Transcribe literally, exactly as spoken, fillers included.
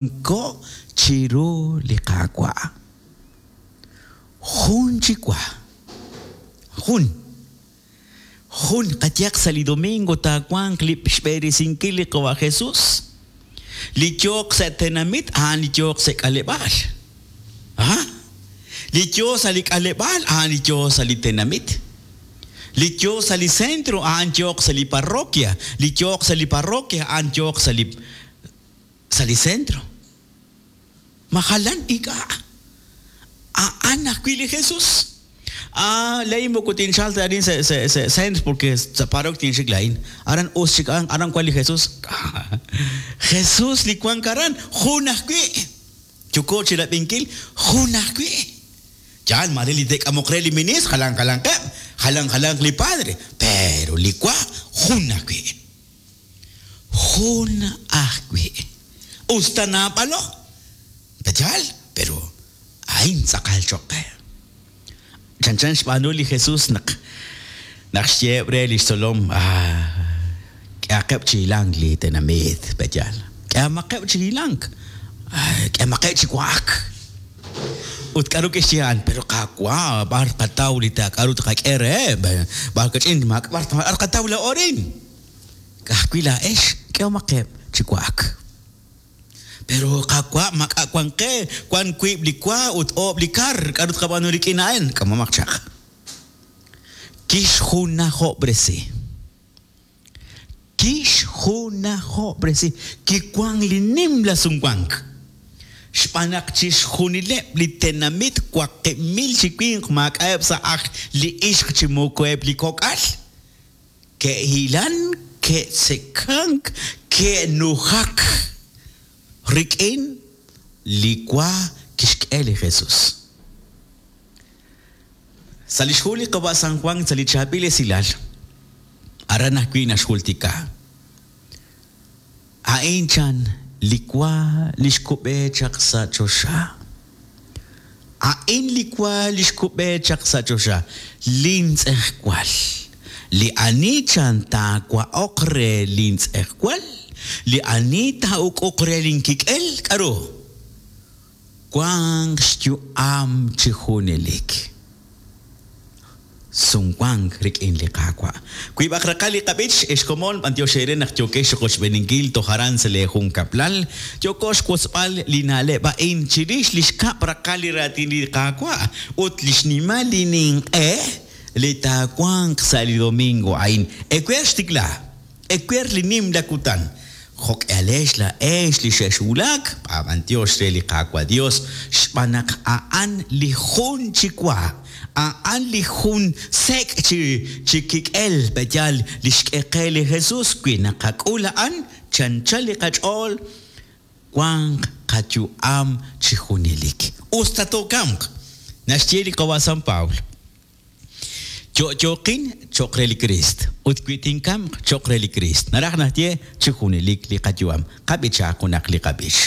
Ko chiru li Qaawa'. Jun chi wa. Jun. Jun qayehaq sa' li domingo taawanq li xb'eresinkil li Qawa' Jesus. Li yooq sa' tenamit a'an li yooq sa' k'aleb'aal. Ah? Li yoo sa' li k'aleb'aal a'an li yoo sa' li tenamit. Li yoo sa' li centro a'an yooq sa' li parroquia. Li yooq sa' li parroquia a'an yooq sa' li sa' li centro. Majalan ink'a'. A'an ajwi' li Jesus. Ah, lain moko tinchal ta arin sa sa sa centro porque sa parroquia tinxik lain. Aran us chik aran wan li Jesus. Jesus li wank aran jun ajwi'. Yoko chi rab'inkil jun ajwi'. Yaal mare li te'k'amoq re li ministro jalan jalanqeb', jalan jalanq li padre, pero li wa jun ajwi'. Jun ajwi'. Usta naab'alo. Yaal, pero a'in tz'aqal cho'q qe. Chanchan xb'aanu li Jesus naq naq xyeeb' re li xtzolom ah, k'ehaqeb' chi hilank li tenamit, pe'yaal. K'ehomaqeb' chi hilank. K'ehomaqeb' chi wa'ak. Ut k'aru kixye a'an, pero Qaawa', b'ar qataw li ta k'aru tqak'e reheb', b'ar kach'in maak b'ar b'ar qataw la orin. Ka'ajwi' laa'ex k'ehomaqeb' chi wa'ak. Pero Qaawa' maak'a' wan qe, wan wiib' li wa ut oob' li kar, k'aru tqab'aanu rik'in a'an, k'amomaq chaq. Kixjunajob'resi. Kixjunajob'resi. Kiwank li nimla sumwank. Xb'aan naq chixjunileb' li tenamit waqib' mil chi winq maak'a'eb' sa' aj li ixq chi moko eb' li kok'al. Ke'hilan, ke'tzekank, ke'nujak rik'in li wa kixk'e li Jesus. Sa' li xhu li Qawa' San Juan sa' li chaab'il esilal, aran ajwi' naxjultika. A'in chan li wa li xkub'e chaq sa' choxa. A'in li wa li xkub'e chaq sa' choxa, lintz'ejwal. Li ani chan taawa'oq re lintz'ejwal, li ani taa'uk'uq re linkik'el, k'aru? Wanq xyu'am chi junelik. Sumwank rik'in li Qaawa'. Wiib'aq raqal li qab'ich, ex komon b'antiox eere naq yookex rochb'eeninkil toj aran sa' lee junkab'lal, yoko xwotzb'al li na'leb' a'in chirix li xkab' raqal li raatin li Qaawa' ut li xnimal li ninq'e li taawanq sa' li domingo a'in. Ewer xtikla, ewer li nimla kutan. Jo'k'alex laa'ex li xe'xwulak, b'antiox re li Qaawa' Dios, xb'aan naq a'an li jun chi wa, a'an li jun sek' chi chi kik'el pe'yaal li xk'e qe li Jesus wi naqak'ul a'an chanchal li qach'ool wanq qayu'am chi junelik. Usta tookamq, naxye li Qawa' San Pablo. Yo'yoqin cho'q re li Criist ut wi tinkamq cho'q re li Criist. Naraj naxye chi junelik li qayu'am. Qab'ichaaq junaq li qab'ich.